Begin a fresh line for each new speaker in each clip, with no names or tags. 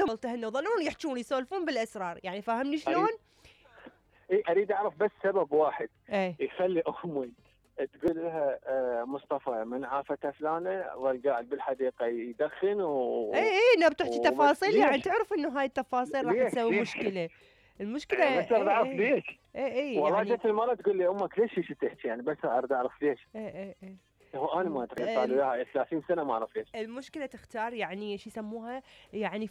كلهم التهنوا ظلون يحجون يسولفون بالاسرار، يعني فاهمني شلون؟
اريد اعرف بس سبب واحد
يخلي
امي تقول لها مصطفى من عافته فلانه والقاعد بالحديقه يدخن
نبي تحكي تفاصيل، يعني تعرف انه هاي التفاصيل راح تسوي مشكله. المشكله
بس اريد اعرف ليش. والله
يعني
جت المره تقول لي امك ليش تحكي، يعني بس اريد اعرف ليش. هو انا ما ادري، صار لي وياها 30 سنه ما اعرف ليش.
المشكله تختار يعني شو يسموها، يعني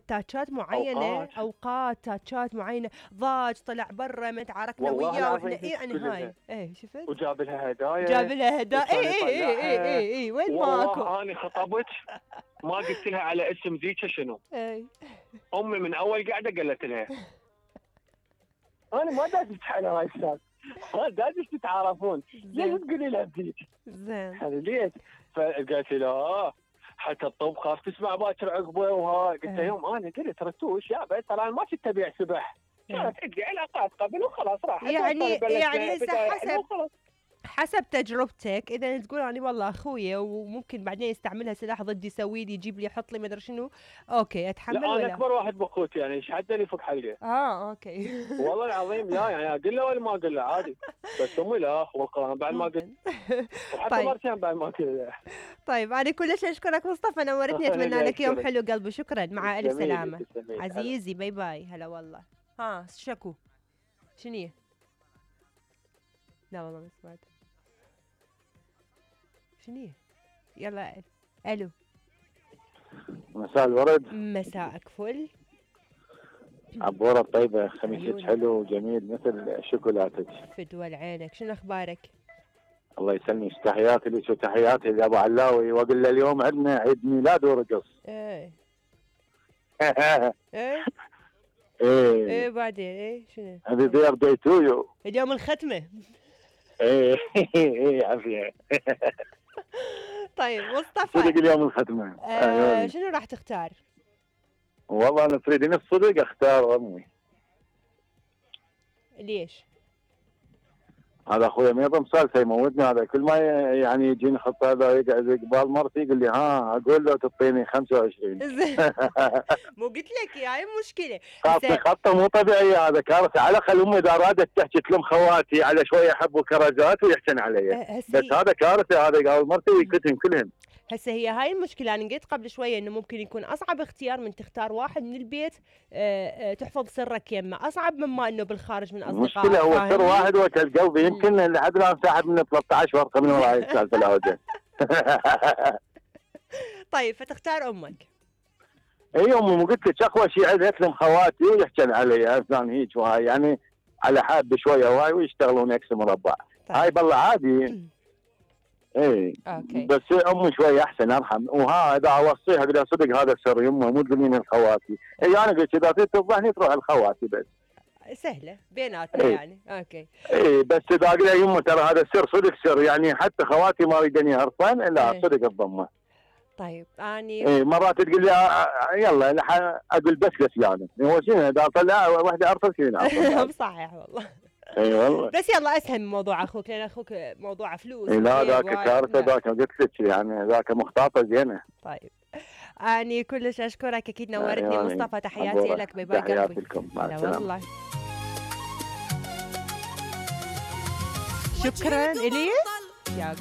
تاتشات معينه، اوقات تاتشات معينه، ضاج طلع برا ما تعاركنا وياه واحنا يعني هاي شفت
وجاب لها هدايا،
جاب لها هدايا. وين ماكو.
والله انا خطبت ما قلت لها على اسم ذيك شنو. امي من اول قاعده قالت لها انا ما دازت على هاي السالفه، ما دازت تتعارفون، ليش تقولي لها بذيك؟
زين
ليش؟ فقالت لا حتى الطب خاف تسمع باكر عقبه وهاي. قلت يوم انا قلت رتوش يابا ترى انا ما كنت ابيع سبح، كانت عندي علاقات قبل وخلاص راحت.
يعني حسب تجربتك، اذا تقول يعني والله اخويا وممكن بعدين يستعملها سلاح ضدي يسوي لي يجيب لي يحط لي ما ادري شنو، اوكي اتحمل.
لا انا اكبر واحد باخوتي، يعني ايش حد اللي فوق حلقه.
اوكي
والله العظيم لا، يعني اقول له ولا ما اقول له عادي، بس امي لا والقران بعد ما قلت وحتى مرتين بعد ما قلت.
طيب انا كلش اشكرك مصطفى، نورتني، اتمنى لك يوم حلو قلبي. شكرا، مع الف سلامه عزيزي. باي باي. هلا والله. شكو شنو؟ لا والله ما سمعت شنو. يلا الو.
مساء الورد.
مساءك فل.
عبورة طيبة، خميسك حلو وجميل مثل شوكولاتك.
فدوى لعينك، شنو اخبارك؟
الله يسلمك، تحياتي لك وتحياتي لابو علاوي، واقول له اليوم عندنا عيد ميلاد ورقص.
ايه بعدين شنو؟
هذه بيرثداي تو يو،
اليوم الختمة.
عافية.
طيب مصطفى،
صدق اليوم الختمة.
شنو راح تختار؟
والله انا تريدين الصدق اختار امي.
ليش؟
هذا اخويا ما يضم سالفه يموتني، هذا كل ما يعني يجيني خطه هذا يقعد قبال مرتي يقول لي اقول له تعطيني 25.
مو قلت لك هاي مشكله.
خطه مو طبيعيه، هذا كارثه. على الاقل امي اذا ارادت تحكي تلم خواتي على شويه حب وكرزات ويحسن علي، بس هذا كارثه، هذا قال مرتي ويكتهم كلهم.
هسه هي هاي المشكله. انا قلت قبل شويه انه ممكن يكون اصعب اختيار من تختار واحد من البيت تحفظ سرك يمه، اصعب مما انه بالخارج من اصدقائك.
المشكله هو سر واحد وكل قلبي، يمكن لحد الان ساحب من 13 ورقه من وراي السالفه العوده.
طيب فتختار امك.
اي امي، مو قلت لك اقوى شيء عندها تلم خواتي ويحكن علي افلان هيك وهاي، يعني على حد بشويه وهاي ويشتغلون اكس مربع. طيب. هاي بالله عادي.
اوكي.
بس امي شويه احسن ارحم، اذا اوصيها اقول لها صدق هذا سر يمه مو تقولين الخواتي. انا قلت اذا تريد تفضحني تروح الخواتي بس.
سهله بيناتنا يعني. اوكي.
بس اذا اقول لها يمه ترى هذا السر صدق سر، يعني حتى خواتي ما يريدني هرفان، لا صدق الضمه.
طيب اني
مرات تقول لي يلا اقول بس لفلانه، هو شنو اذا طلع واحده ارسل شنو.
صحيح والله.
اي والله.
بس يلا اسهل من موضوع اخوك، لان اخوك موضوع فلوس.
لا ذاك كارثه، ذاك قلت لك يعني ذاك مخططه زينه.
طيب اني كلش اشكرك، اكيد نورتني مصطفى. تحياتي لك. باي باي قلبي.
تحياتي لكم، مع السلامه.
والله شكرا الي يا